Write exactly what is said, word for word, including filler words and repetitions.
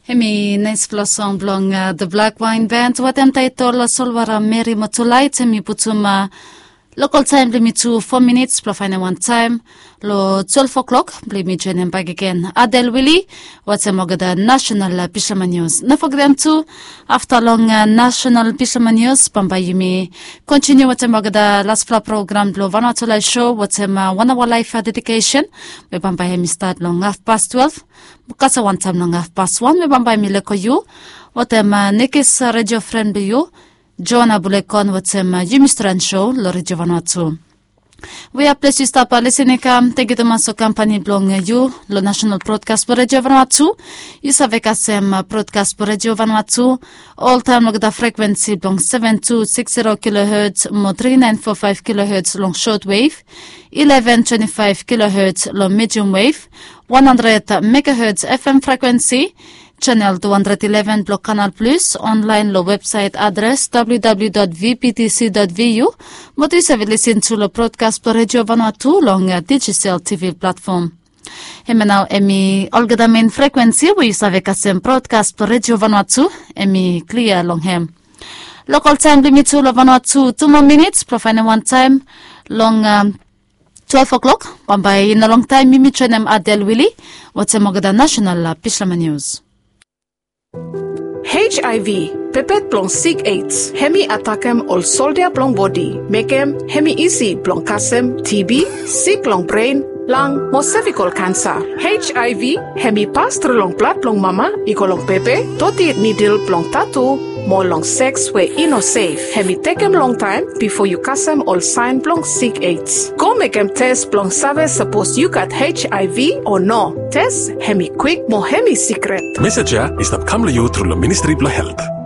Hemi naispela song blong The Black Wine Band wetem taitol Solwara Meri Motulait. Hemi putum lokal taem blong yumi tu fo minits blong faenem wan taem long twelef o'klok blong yumi joenem bakegen Adel Wili wetem olgeta nasenal bislama nius. No fogetem tu, afta long nasenal bislama nius bambae yumi kontiniu wetem olgeta laspela program blong Vanuatu Laef Sou wetem wan aoa laef dedikesen, we bambae hemi stat long hafpas twelef mo kasem wantaem long hafpas wan, we bambae mi leko yu wetem nekis redio fren blong yu, Joana Bulekon, wetem yumi stren sou long Redio Vanuatu. We a ples yu stap lisening kam, tangkiu tumas long kampani blong yu long nasenal brodkas blong Redio Vanuatu. Yu save kasem brodkas blong Redio Vanuatu oltaem long olgeta frekwensi blong seven two six zero kilohertz mo three nine four five kilohertz long short wave, eleven twenty five kilohertz long medium wave, one hundred megahertz F M frekwensi, channel two hundred eleven blong Canal Plus, online long websaet adres W W W dot V P T C dot V U, mo tu yu save lisin tu long brodkas blong Redio Vanuatu long Digicel T V platfom. Hemia nao hemi olgeta mein frekwensi we yu save kasem brodkas blong Redio Vanuatu, hemi klia long hem. Lokal taem blong yumi tu long Vanuatu, tu moa minits blong faenem wan taem long twelef o'klok. Bambae i no longtaem yumi joenem Adel Wili wetem olgeta nasenal bislama nius. H I V, pepet blong sik AIDS, hemi atakem ol soldia blong bodi, mekem hemi isi blong kasem T B, sik long bren, lang mo sevikol kansa. H I V hemi pas tru long blad blong mama i go long bebe, doti nidil blong tatu, mo long seks we i no sef. Hemi tekem longtaem bifo yu kasem ol saen blong sik AIDS. Go mekem tes blong save sapos yu gat H I V o no. Tes hemi kwik mo hemi sikret. Mesej ya i stap kam long yu tru long Ministri blong Helt.